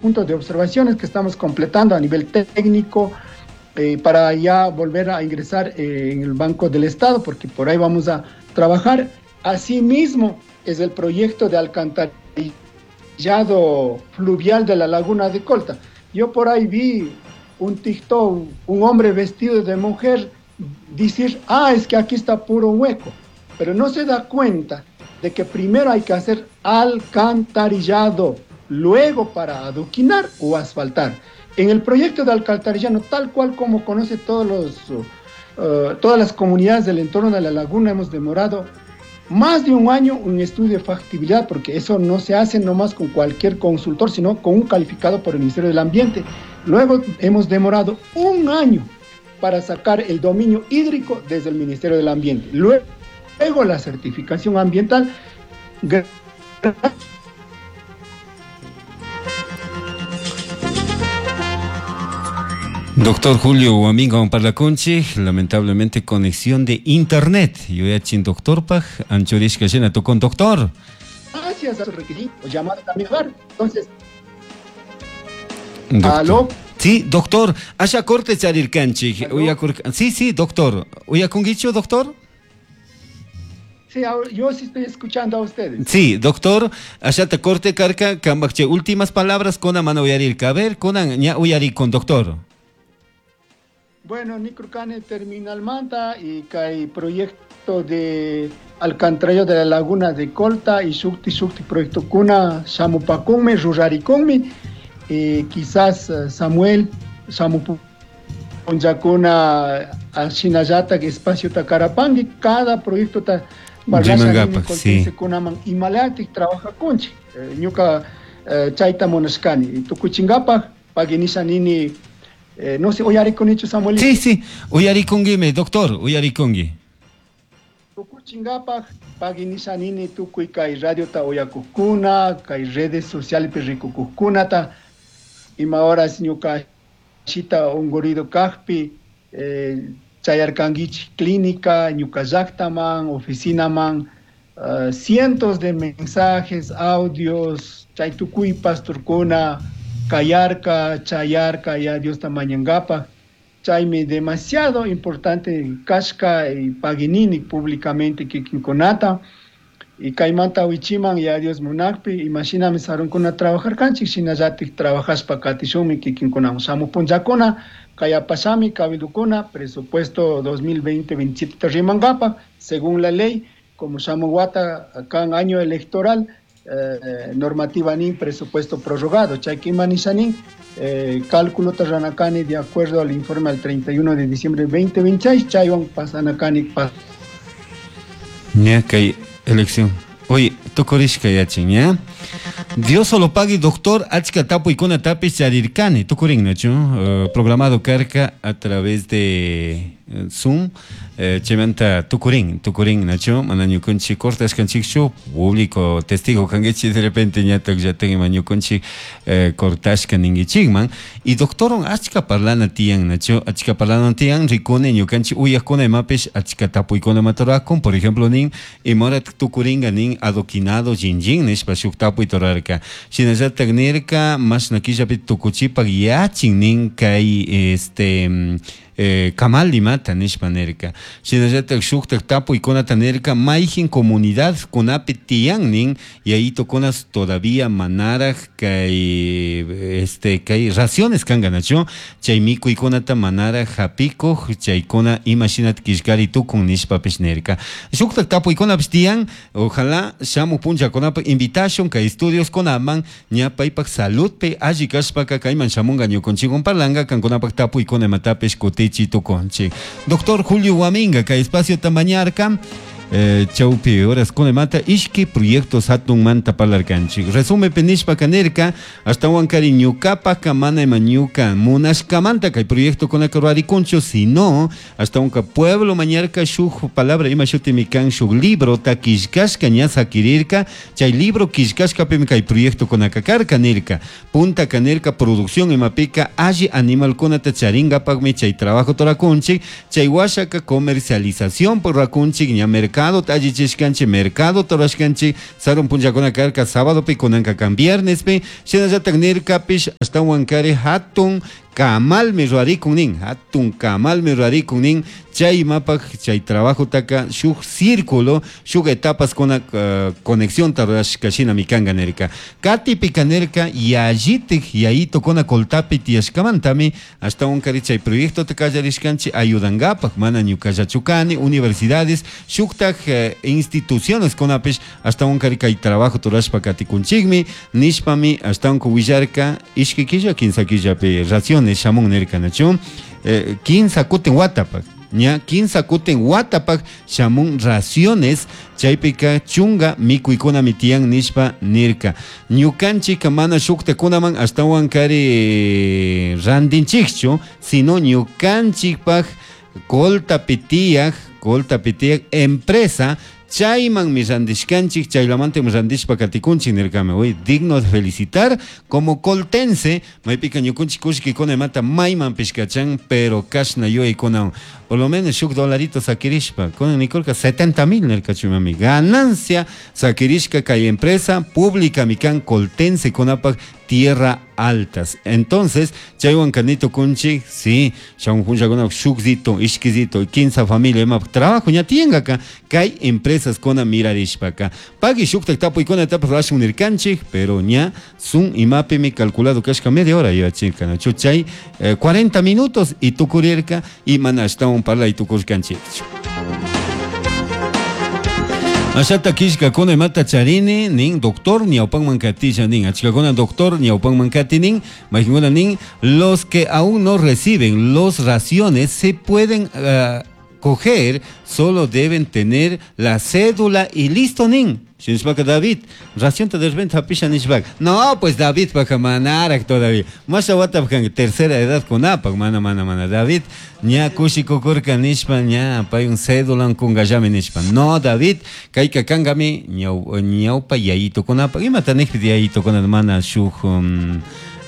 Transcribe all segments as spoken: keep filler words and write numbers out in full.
conjunto de observaciones que estamos completando a nivel técnico eh, para ya volver a ingresar eh, en el Banco del Estado, porque por ahí vamos a trabajar. Asimismo, es el proyecto de alcantarillado fluvial de la Laguna de Colta. Yo por ahí vi un TikTok, un hombre vestido de mujer, decir, ah, es que aquí está puro hueco, pero no se da cuenta de que primero hay que hacer alcantarillado, luego para adoquinar o asfaltar. En el proyecto de alcantarillado, tal cual como conoce todos los, uh, todas las comunidades del entorno de la laguna, hemos demorado más de un año un estudio de factibilidad, porque eso no se hace nomás con cualquier consultor, sino con un calificado por el Ministerio del Ambiente. Luego hemos demorado un año para sacar el dominio hídrico desde el Ministerio del Ambiente. Luego, luego la certificación ambiental. Doctor Julio Huaminga Parlaconchi, lamentablemente conexión de internet. Yo ya chin doctor paj, anchorishka llena tu con doctor. Gracias a su requisito, llamado también. Entonces, aló. Sí, doctor, allá corte charirkanchi. Sí, sí, doctor. ¿Uyakungicho, doctor? Sí, yo sí estoy escuchando a ustedes. Sí, doctor, allá te corte carca, kambakche, últimas palabras con a mano uyarirka. A ver, con ña uyari con doctor. Bueno, Nicrucane Terminal Manta y hay proyecto de alcantarillado de la Laguna de Colta y Shukti Shukti proyecto Kuna, Shamupakunmi, Rurarikunmi, eh, quizás Samuel, Shamupunjakuna, Ashinayata, espacio Tacarapangui, cada proyecto ta sí. Imalatik trabaja conchi, ñuka chaita monashkani, tukuchingapaj, paguinisha nini. Eh, no sé, uyarikunichu Samuel. Sí, sí, uyarikunguime, doctor, uyarikungi. Tukuchingapaj, paguinisha nini tukuy kay radio ta uyakukuna, kay redes sociales rikukukunata, ima horas ñuka shita ungurido kajpi, eh, chayarkanguichi clínica, ñuka llaqtaman, oficinaman, uh, cientos de mensajes, audios, chay tukuy pastorkuna, Kayarka, Chayarka, ya Dios tamañangapa. Chaymi demasiado importante kashka y paginini públicamente kikinkunata. Y kaymanta wichiman ya Dios munakpi, imaginame sarunkuna trabajar kanchik, shinallatik trabajaspa katishunmi kikinkunawan. Shamupunllakuna, kayapashami, cabildukuna, presupuesto dos mil veinte veintisiete rimangapa, según la ley, como shamuwata kan año electoral, Eh, normativa nin presupuesto prorrogado, chaykimanishanin, eh, cálculo tarranacani de acuerdo al informe al treinta y uno de diciembre de veinte veintiséis, chaywan pasanacani pas. Ya que elección. Oye, tukurishka yachin, ¿ya? Dios solo pague, doctor, achka tapu ikuna tapis charirkani, tukurin, nachu, uh, programado karka a través de Zoom, eh, chemanta tukurin, tukurin, nachu, manañukunchi cortas kanchikchu, público testigo kangechi de repente ñatak yaten mañukunchi eh, cortashka ningichikman, y doctoron achka parlana tiyan, nachu, achka parlana tiyan, rikune ñukanchi uyakuna imapish, achka tapu ikuna matorakun, por ejemplo, nin, imorat tukuringa nin adoquinado jinjin, nishpa shuk tapu itorarka, shinallatak nirka, mashna killapi tukuchipak yachin nin kay este Eh, kamal limata nishpa nirka shinallatak shuktak tapu ikunata nirka mayjin comunidad kunapi tiyan nin yayito kunas todavía manaraj kay este kay raciones kanka nachu chay mikuykunata manaraj hapikuj chaykuna imashinat killkari tukun nishpapish nirka shuktak tapu ikunapish tiyan ojalá shamuj punllakunapaj invitación kay estudios kunaman ña paypak saludpi alli kashpaka kayman shamunga ñukunchikwan parlanka kankunapak tapu ikuna imatapish kuti Chito. Doctor Julio Huaminga, que espacio tamañarca, eh, chaupi horas con mata, ishki proyectos hatun manta palarkanchi. Resume penishpa kanerka, hasta huancari ñucapa kamana mañuca, munashkamanta kay proyecto con acarariconcho, si no, hasta un pueblo mañarca shuj palabra ima shutimikan shuj libro ta kishkashka ña sakirirka, chay libro kishkashka pim kay proyecto con akakarka nirka, punta kanerka producción imapika alli animal kunata charinga pagmi chay trabajo torakunchi, chay washaka comercialización por rakunchi ña mercado Mercado allichishkanchik, mercado rurashkanchik, sarun punllakuna karka sábadopi, kunanka kan viernespi, shinallatak nirkapish ashtawan kari hatun kamalmi rurarikun nin, hatun kamalmi rurarikun nin, chay imapaj chay trabajotaka shuk círculo, shuk etapas kuna uh, conexión rurashka shinami kanka nirka. Katipika nirka yallitik yayito kuna Coltapi tiyashkamantami ashtawan kari chay proyectota kallarishkanchik ayudankapak, mana ñukallachu kani, universidades, shuktak eh, instituciones kunapish ashtawan kari kay trabajo rurashpa katikunchikmi nishpami ashtawan willarka ishki killa kinsa killapi raciones shamun nirka nachu, eh, kinsa kutin watapak ña kinsa kutin watapak shamun raciones chaypika chunga mikuykunami tiyan nishpa nirka. Ñukanchik mana shuktakunaman ashtawan kari randinchikchu, sino ñukanchikpak Coltapi tiyaj, Coltapi tiyaj empresa chaymanmi randishkanchik, chaylamantam randishpa katikunchik nirkami. Hoy digno de felicitar como coltense, maypika ñukunchik kullkikuna imata maymanpish kachan, pero kashna yuyaykuna por lo menos shuk dolarito sakirishpa, kunan nikurka setenta mil nirkachu mami, ganancia sakirishka kay empresa pública mikan coltense kunapak tierra altas. Entonces, chaywan kanito kunchik, sí, shamun punllakuna shukzito, ishkizito, quince familia ima trabajo ña tiyankaka kay empresas kuna mirarishpaka. Pagui shuktak tapuykuna tapas rashun nirkanchik, pero ña sun imapimi calculado kashka media hora yachirka, nachu chay eh, cuarenta minutos y tukurirka y mana ashtawan parlay tukurkanchik. Ashata kishkakuna imata charini nin doctor ñawpanman katisha nin, achkakuna doctor ñawpanman kati nin, mayqinkuna nin, los que aún no reciben los raciones se pueden uh, coger, solo deben tener la cédula y listo nin. Shinishpaka David, ración de repente hapisha nishpaka. No, pues David paka manarak todavía. Masha watapkan tercera edad kunapak, mana mana mana. David, ña kushikukurka nishpa, ña pay un cédula kungallami nishpa. No, David, kayka kangami ñaw ñawpa yayito kunapak. Imata nijpi yayito kunat mana shuk um,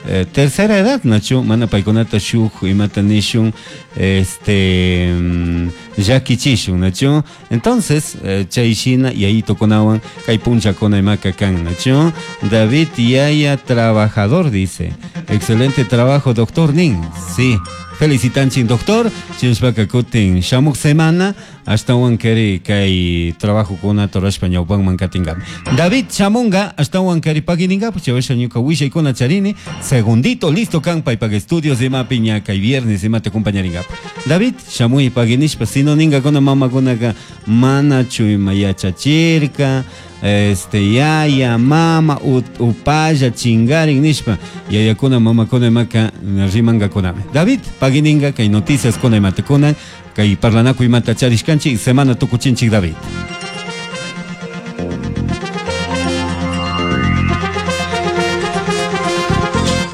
eh, tercera edad, nachu, mana paykunata shuk imata nishun, este um, llakichishun, nachu. Entonces, eh, chayshina yayito kunawan kay punchakuna imaka kan, nachu. David yaya trabajador, dice. Excelente trabajo, doctor nin. Sí. Felicitanchik doctor, chinshpaka kutin shamuk semana ashtawan kari kay trabajo kuna torashpa ñawpanman katingami. David shamunga ashtawan kari pagininga, pues chavasha ñuka willaykuna charini, segundito listo kan paypak estudios imapi ña kay viernes imata acompañaringapa. David shamuy paginishpa, sino ningakuna mamakunaka manachu ima yachachirka, este yaya mama upalla chingarin nishpa yayakuna mamakuna imaka rimangakunami. David pagininga kay noticias kuna imata kunan kay parlanakuy imata charishkanchik semana tukuchinchik David.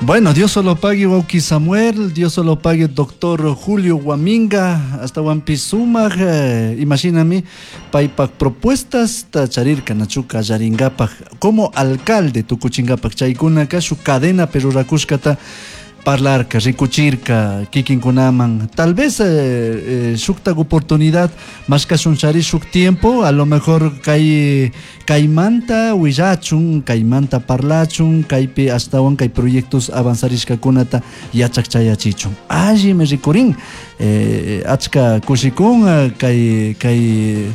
Bueno, Dios solo pague wauki Samuel, Dios solo pague doctor Julio Guaminga, hasta Huampisumaj, eh, imagíname, paypak propuestas tacharirka nachuka yaringapak, como alcalde tukuchingapak chaykunaka su cadena perurakushkata parlarka, rikuchirka, kikinkunaman, tal vez eh, eh, shuktak oportunidad, mashkashunchari shuk tiempo, a lo mejor kay kaymanta willachun, kaymanta parlachun, kaypi ashtawan kay proyectos avanzarishkakunata yachakchayachichun. Allimi rikurin, eh, achka kushikun, kay kay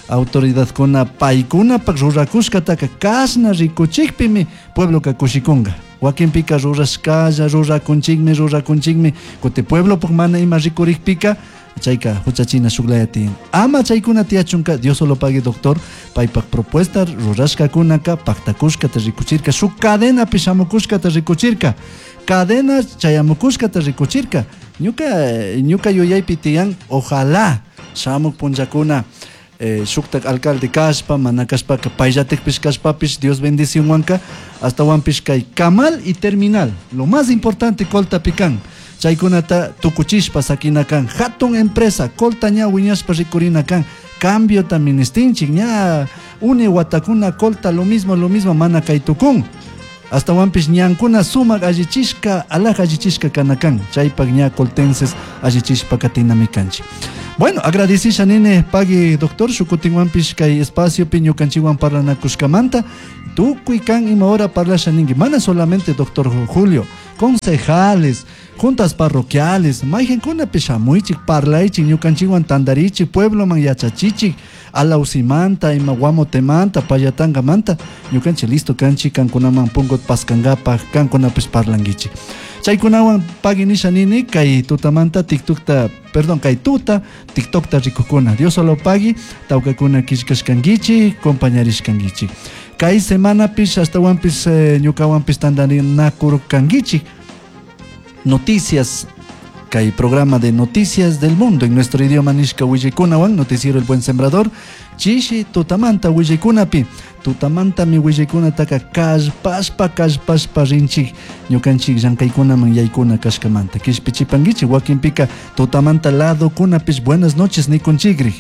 autoridadkuna paykunapak rurakushkataka kashna rikuchikpimi puebloka kushikunka. Wakinpika rurashkalla, rurakunchikmi, rurakunchikmi, kuti pueblopuk mana ima rikurikpika, chayka huchachina shuklaya tiyan. Ama chaykuna tiyachunka, Dios solo pague doctor, paypak propuesta rurashkakunaka, paktakushkata rikuchirka, shuk cadenapi shamukushkata rikuchirka, cadena chayamukushkata rikuchirka. Ñuka, ñuka yuyaypi tiyan, ojalá shamuk punllakuna, Eh, shuktak alcalde kashpa, mana kashpaka payllatikpish kashpapish, Dios bendicionwanka, hasta wanpish kay kamal y terminal, lo más importante Coltapi kan, chaykunata tukuchishpa sakina kan, hatun empresa, Colta ña wiñashpa rikurina kan, cambio ministinchik, ña uni watakuna Colta lo mismo, lo mismo, mana kay tukun, hasta wanpish ñankuna sumak allichishka, alaj allichishka kanakan, chaypak ña coltenses allichishpa katinami kanchik. Bueno, agradecisha nini pagui doctor shukutinwanpish kay espaciopi ñukanchikwan parlanakushkamanta tukuy kan ima hora parlasha ninki mana solamente doctor Julio, concejales, juntas parroquiales, mayqinkunapish shamuychik parlaychik ñukanchikwan tantarichik puebloman yachachichik alausimanta ima guamotemanta payatangamanta ñukanchik listo kanchik kankunaman punkut paskankapak kankunapish parlankichik. Chaykunawan pagui nisha nini kay tutamanta TikTokta, perdón, kay tuta TikTokta rikukuna. Dios solo pagui tawkakuna killkashkankichik compañarishkankichik. Kay semanapish astawanpish eh, ñukawanpish tantarinakurkankichik. Noticias, kay programa de noticias del mundo en nuestro idioma nishka willikunawan, noticiero El Buen Sembrador, chishi tutamanta willikunapi, tutamantami willikunataka kallpashpa kallpashpa rinchik ñukanchik llankaykunaman yaykuna kashkamanta kishpichipankichik wakinpika tutamanta ladokunapish buenas noches nikunchikrik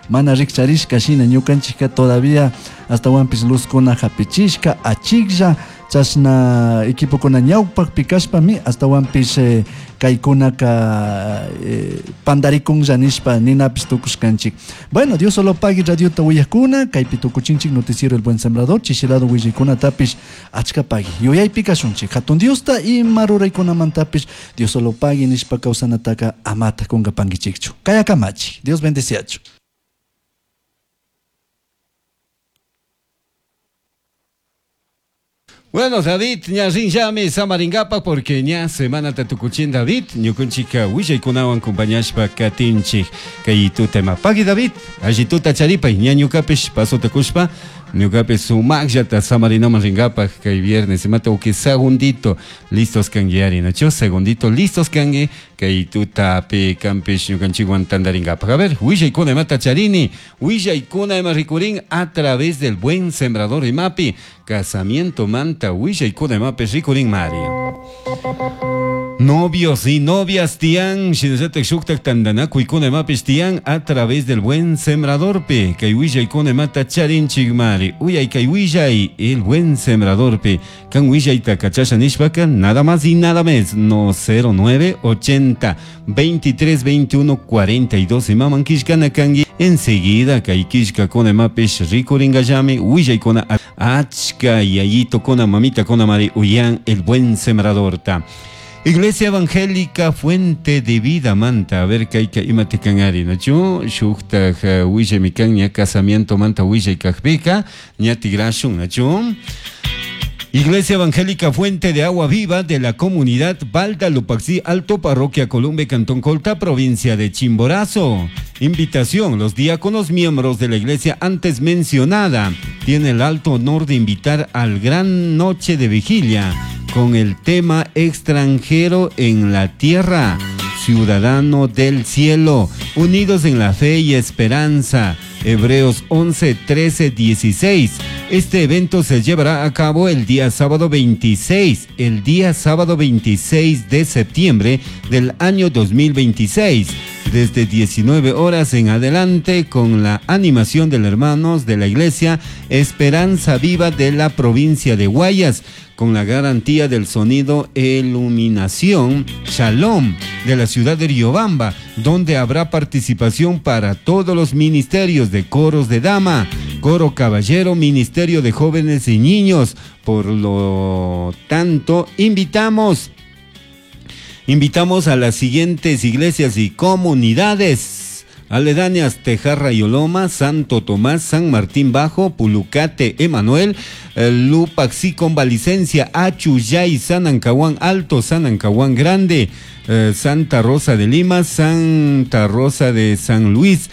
mana rikcharishka shina ñukanchikka todavía astawanpish luzkuna hapichishka achiklla chashna equipokuna ñawpakpi kashpami astawanpish eh, kaykunaka eh, pandarikunlla nishpa ninapish tukushkanchik. Bueno, Dios solo pagui radiota willakuna kaypi tukuchinchik noticiero El Buen Sembrador chishilado willaykunatapish achka pagui yuyaypi kashunchik hatun Diosta ima ruraykunamantapish Dios solo pagui nishpa kawsanataka amata kunkapankichikchu. Kayakamachi. Dios bendeciachu. Bueno, David, ña rinllami samaringapa porque ña semana tatukuchin David, ñukunchika willaykunawan compañashpa katinchik kay tutema. Pagui David, alli tuta charipay, ña ñukapish pasota kushpa, ñukapish sumaqllata samarinaman ringapaj kay viernes, imata uki segundito, listos kanki ari, nacho, segundito, listos kanki, kay tutapi kampish ñukanchikwan tantaringapaj. A ver, willaykuna imata charini, willaykuna ima rikurin a través del Buen Sembrador imapi, casamiento manta willaykuna imapi rikurin mari. Novios y novias tian, shinallatak shuktak tantanakuykuna imapish tian a través del Buen Sembrador pe, kay willaykuna imata charinchik mari. Uyay kay willay, el Buen Sembrador pe, kan willayta kachasha nishpaka, nada más y nada menos, no cero nueve ochenta veintitrés veintiuno cuarenta y dos imaman kishkana kanki. Enseguida kay kishkakuna imapish rikuringallami willaykuna achka yayito kona mamita kona mari uyan el Buen Sembrador ta. Iglesia Evangélica Fuente de Vida manta, a ver kayka imati kanari, nachu shuktaj willay ña casamiento manta willay kajpika ña tigrashun, nachu. Iglesia Evangélica Fuente de Agua Viva de la comunidad Balda Lupaxí Alto, Parroquia Columbe, Cantón Colta, provincia de Chimborazo. Invitación, los diáconos miembros de la iglesia antes mencionada tienen el alto honor de invitar al gran noche de vigilia con el tema extranjero en la tierra, ciudadano del cielo, unidos en la fe y esperanza. Hebreos once, trece, dieciséis. Este evento se llevará a cabo el día sábado veintiséis, el día sábado veintiséis de septiembre del año dos mil veintiséis, desde diecinueve horas en adelante, con la animación de los hermanos de la Iglesia Esperanza Viva de la provincia de Guayas, con la garantía del sonido e iluminación Shalom de la ciudad de Riobamba, donde habrá participación para todos los ministerios de coros de dama, coro caballero, ministerio de jóvenes y niños. Por lo tanto, invitamos, invitamos a las siguientes iglesias y comunidades aledañas: Tejarra y Oloma, Santo Tomás, San Martín Bajo, Pulucate, Emanuel, Lupaxí Convalicencia, Achuyay, San Ancahuán Alto, San Ancahuán Grande, eh, Santa Rosa de Lima, Santa Rosa de San Luis,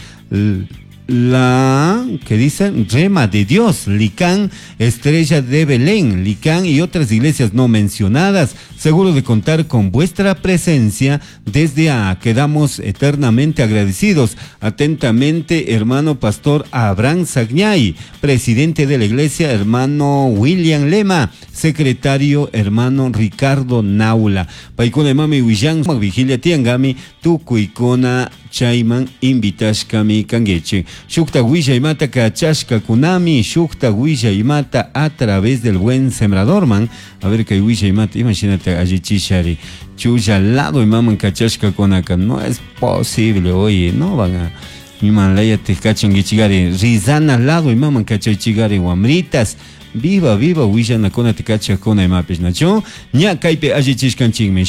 la que dice Rema de Dios, Licán, Estrella de Belén, Licán y otras iglesias no mencionadas. Seguro de contar con vuestra presencia, desde a quedamos eternamente agradecidos. Atentamente, hermano pastor Abraham Sagñay, presidente de la iglesia, hermano William Lema, Secretario hermano Ricardo Naula. Paykuna imami willan vigilia tiangami tukuykuna chayman invitashkami kankichik. Shukta willaymata kachashkakunami, shukta willaymata a través del buen sembradorman. A ver kay willaymata imashinata allichishari. Chulla lado imaman kachashkakunaka no es posible, oye, no van a iman layati kachankichigari rizana lado imaman kachaychigari wamritas. Viva, viva, willanakunata kachakuna imapish nachu ña kaypi allichishkanchikmi.